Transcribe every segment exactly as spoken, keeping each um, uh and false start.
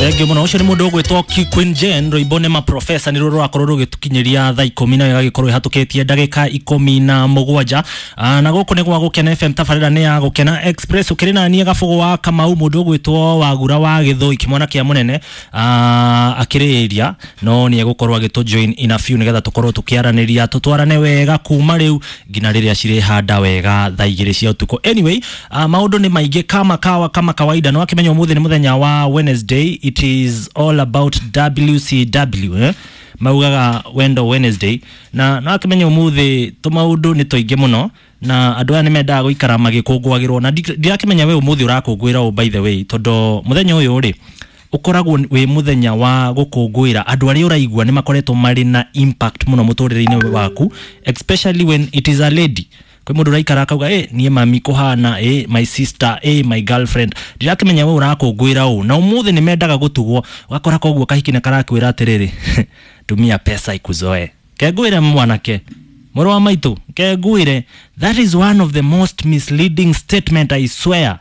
Thengiũ mũno. Ũcio nĩ mũndũ ũgwĩtwo Queen Jane, rwĩmbo nĩ maprofesa, nĩ ruo rũrakorwo rũgĩtũkinyĩria thaa ikũmi na ĩgagĩkorwo ĩhatũkĩtie ndagĩka ikũmi na mũgwanja. Ah, na gũkũ nĩ gwa Gũkena F M, tabarĩra nĩ ya Gũkena Express. Ũkĩrĩ na niĩ Gabũgũ wa Kamau, mũndũ ũgwĩtwo Wagura wa Gĩthũi, kĩmwana kĩa mũnene, ah, akĩrĩ area no nĩ egũkorwo agĩtũ join in a few nĩgetha tũkorwo tũkĩaranĩria, tũtwarane wega kuma rĩu nginya rĩrĩa cirĩhanda wega thaa igĩrĩ cia ũtukũ. Anyway, uh, maũndũ nĩ maingĩ kama kawa kama kawaida. No akĩmenya ũmũthĩ nĩ mũthenya wa Wednesday, it is all about W C W, eh? Maugaga Wendo Wednesday, na no akĩmenya ũmũthĩ tũmaũndũ nĩ tũingĩ mũno na andũ aya nĩ mendaga gũikara magĩkũngũagĩrwo, na ndi- ndirakĩmenya we ũmũthĩ ũrakũngũĩra ũ, by the way, tondũ mũthenya ũyũ rĩ ũkoragwo wĩ mũthenya wa gũkũngũĩra andũ arĩa ũraigua nĩ makoretwo marĩ na impact mũno mũtũrĩre-inĩ waku, especially when it is a lady. Kwĩ mũndũ ũraikara akauga, "Ĩ niĩ mami kũhana, ĩ my sister, ĩ my girlfriend." Ndirakĩmenya we ũrakũngũĩra ũ, na ũmũthĩ nĩ mendaga gũtugwo, ũgakora koguo kahiki nĩ karakwĩra atĩrĩrĩ, "Tumia pesa ikuzoe." Kengwĩre mwanake mũrũ wa maitũ, kengwĩre, that is one of the most misleading statement, I swear.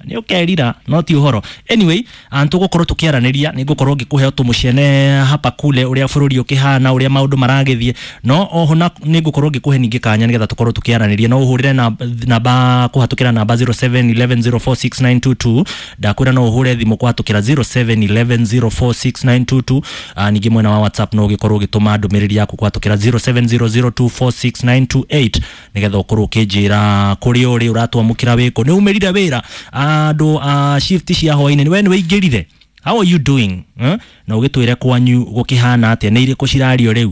Nĩ ũkerira no ti ũhoro. Anyway, tũgũkorwo tũkĩaranĩria, nĩ ngũkorwo ngĩkũhe tũmũcene hapa kule, ũrĩa bũrũri ũkĩhana, ũrĩa maũndũ maragĩthiĩ, no oho na nĩ ngũkorwo ngĩkũhe ningĩ kanya nĩgetha tũkorwo tũkĩaranĩria. No ũhũrĩre na- namba kũhatũkĩra namba zero seven one one zero four six nine two two. Ndakwĩra no ũhũre thimũ kũhatũkĩra zero seven one one zero four six nine two two. Ah, ningĩ mwena wa WhatsApp no ũgĩkorwo ũgĩtũma ndũmĩrĩri yaku kũhatũkĩra zero seven zero zero two four six nine two eight nĩgetha ũkorwo ũkĩnjĩra kũrĩa ũrĩ, ũratwamũkĩra wĩkũ, nĩ umĩrire wĩra, andũ a shift cia hwainĩ, we nĩ wĩingĩrire, how are you doing, eh? Na ũgĩtwĩre kwanyu gũkĩhana atĩa, nĩ irĩkũ cirario rĩu.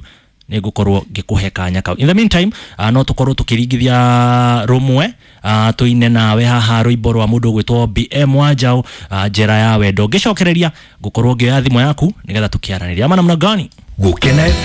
Nĩ ngũkorwo ngĩkũhe kanya kau. In the meantime, uh, no tũkorwo tũkĩringithia rũmwe, uh, tũine nawe haha rwĩmbo rwa mũndũ ũgwĩtwo B M Wanjaũ, uh, Njera ya Wendo. Ngĩcokereria ngũkorwo ngĩoya thimũ yaku nĩgetha tũkĩaranĩria ama namna gani. Gũkena.